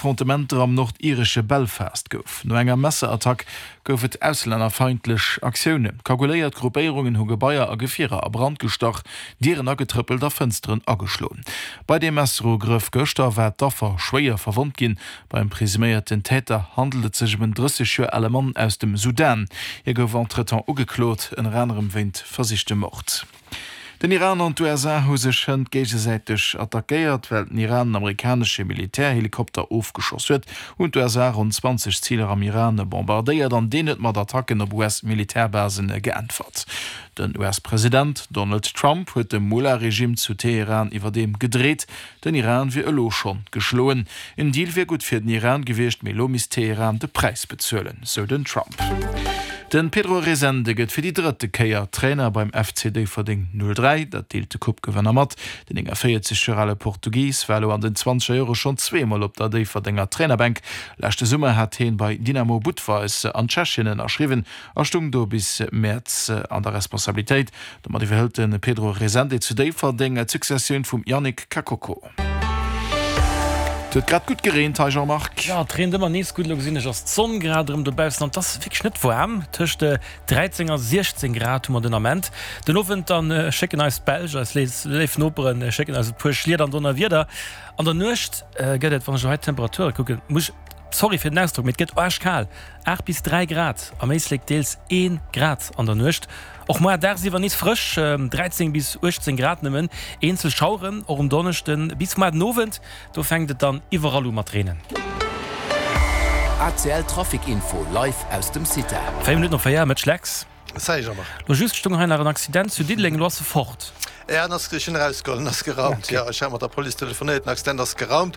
Affrontementer am nordiresche Belfast gouf. No enger Messerattack gouf et auslännerfeindlech Aktiounen. Kaguléiert Gruppéierungen hu Gebaier a Gefierer a Brand gestach, Dieren agetrëppelt a Fënsteren ageschloen. Bei deem Messerugrëff gëschter war d'Affer schwéier verwonnt ginn. Beim presuméierten Täter handelt et sech ëm en 30 Joer ale Mann aus dem Sudan. Hie gouf entretemps ugeklot, ënner anerem wéint versichtem Mord. Den Iran an d'USA hu sech hënt géigesäiteg attackéiert. Well den Iran en amerikanesche Militärhelikopter ofgeschoss huet, hunn d'USA ronn 20 Ziler am Iran bombardéiert an deen huet mat Attacken op US-Militärbasen geäntwert. Den US-President Donald Trump huet dem Mullah-Regime zu Teheran iwwerdeem gedreet, Den Iran wier elo schonn geschloen. En Deal wier gutt fir den Iran gewiescht, mee elo misst Teheran de Präis bezuelen, sou den Trump. De Pedro Resende gëtt fir déi drëtte Kéier Trainer beim FC Déifferdeng 03. Dat deelt de Coupe-Gewënner mat. Den 49 Joer ale Portugis war elo an den zwanzeger Jore schonn zweemol op der Déifferdenger Trainerbänk. Leschte Summer hat hien bei Dynamo Budweis an Tschechien ënnerschriwwen a stung do bis Mäerz an der Responsabilitéit. Domat iwwerhëlt de Pedro Resende zu Déifferdeng d'Successioun vum Yannick Kakoko. Et huet grad gutt gereent hei, Jean-Marc. Jo, et reent ëmmer nees gutt. Elo gesinn ech, ass d'Sonn grad erëm dobaussen an et ass wierklech net waarm. Tëscht 13 a 16 Grad hu mer den Ament. Den Owend dann schécken eis d'Belsch, eis léif Noperen, schécken eis e puer Schliet an Donnerwieder. An der Nuecht gëtt et, wann ech elo hei d'Temperature kucken, muss ech, sorry fir den Ausdrock, mee et gëtt aarschkal, 8 bis 3 Grad, am Éislek deels 1 Grad an der Nuecht. Och moar dagsiwwer nees frësch, 13 bis 18 Grad nëmmen. Eenzel Schaueren och um Donneschden bis moar den Owend, do fänkt et dann iwwerall u mat reenen. ACL Trafic Info live aus dem CITA. 4 Minutten op 4, Mëtsch Lex. Salut Jean-Marc. Lo just stung hei nach en Accident zu Diddeleng, elo ass e fort. Ja, en ass, ech hunn erausgeholl, en ass geraumt. Jo, ech hat mat der Police telefonéiert, den Accident ass geraumt.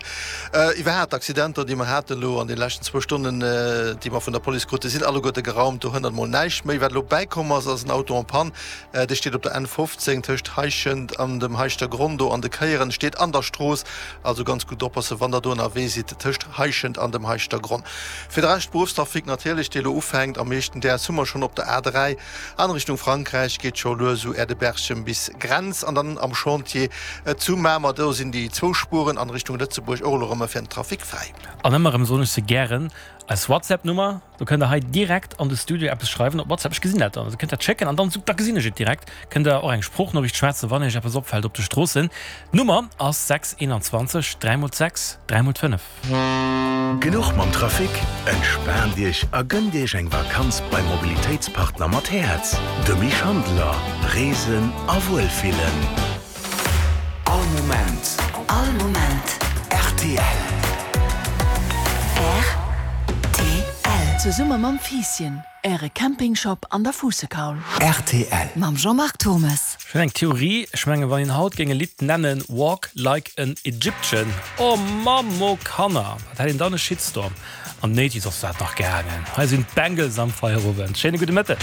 Iwwerhaapt d'Accidenter, déi mer haten elo an de leschten zwou Stonnen, déi mer vun der Police kruten, sinn alleguerte geraumt. Do hënnert mol näischt méi. Wat elo bäikomm ass, ass en Auto en panne. Dee steet op der N 15 tëscht Heischent an dem Heischtergronn do an de Kéieren, steet an der Strooss. Also ganz gutt oppassen, wann der do ënnerwee sidd tëscht Heischent an dem Heischtergronn. Fir de Rescht, Beruffstrafic natierlech, dee elo ufänkt. Am meeschten däers hu mer schonn op der A3 an Richtung Frankräich, geet scho lues u Äerdeberchem bis Grenz an dann am Chantier zu Mamer. Do sinn déi zwou Spueren an Richtung Lëtzebuerg och elo erëm fir den Trafic fräi. An ëmmer erëm soen ech se gären, eis WhatsApp-Nummer, do kënnt der hei direkt an de Studio eppes schreiwen op WhatsApp, ech gesinn dat dann, also kënnt dat schécken an dann, da gesinn ech et direkt. Kënnt der och eng Sproochnoriicht schwätzen, wann iech eppes opfält op de Stroossen. D'Nummer ass 6 21 3 mol 6 3 mol 5. Genuch mam Trafic? Entspaant Iech a gënnt Iech eng Vakanz beim Mobilitéitspartner mat Häerz, dem Schandeler. Reesen a Wuelfillen. All Moment. All Moment. Rtl. Rtl. Zesumme mam Fiisschen. Äre Campingshop an der Fuussekaul. Rtl. Mam Jean-Marc Turmes. Ech hunn eng Theorie, ech mengen wann een haut géing e Lidd nennen Walk like an Egyptian, oh Mamm, oh Kanner, wat hätt een dann e Shitstorm. An den Eighties ass dat nach gaangen. Hei sinn d'Bengals am Feierowend. Schéine gudde Mëtteg.